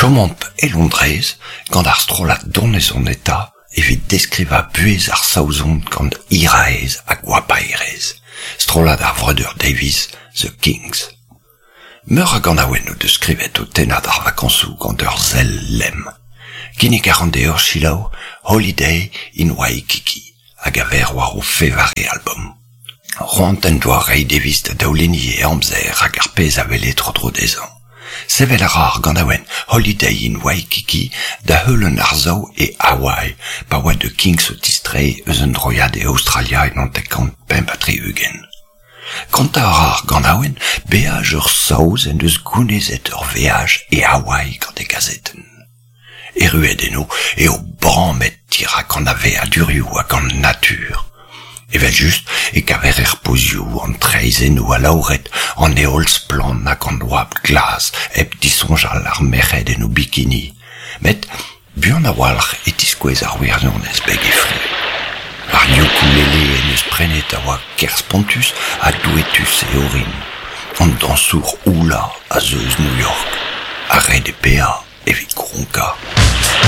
Chomomp e Londrez gant ar strollad donezon eta evit deskrivañ buhez ar Saozon gant hiraezh ha goapaerezh, strollad ar vreudeur Davies, The Kinks. Meur a ganaouenn o deus skrivet o tennañ d'ar vakañsoù gant ur sell lemm. Kinnig a ran deoc'h selaou Holiday in Waikiki hag a ver war o fevare albom. C'hoant en doa reiñ devis da daolenniñ e amzer hag ar pezh a wele tro-dro dezhañ. Sevel a ra ar ganaouenn Holiday in Waikiki da heul un arsav e Hawaii pa oa The Kinks o tistreiñ eus un droiad e Aostralia e 1965. Kontañ a ra ar ganaouenn beaj ur Saoz en deus gounezet ur veaj e Hawaii gant e gazetenn. Erruet eno eo bamet dirak an aveadurioù hag an natur. Evel-just e kaver er pozioù an traezhennoù alaouret, an heol splann hag an oabl glas hep disoñjal ar merc'hed en o bikini. Met Buan a-walc'h e tiskouez ar wirionez beg e fri. Ar ukulele en deus prenet a oa ker spontus ha douetus e orin. An dañsour hula a zeu eus New York ha ret eo paeañ evit kronkañ.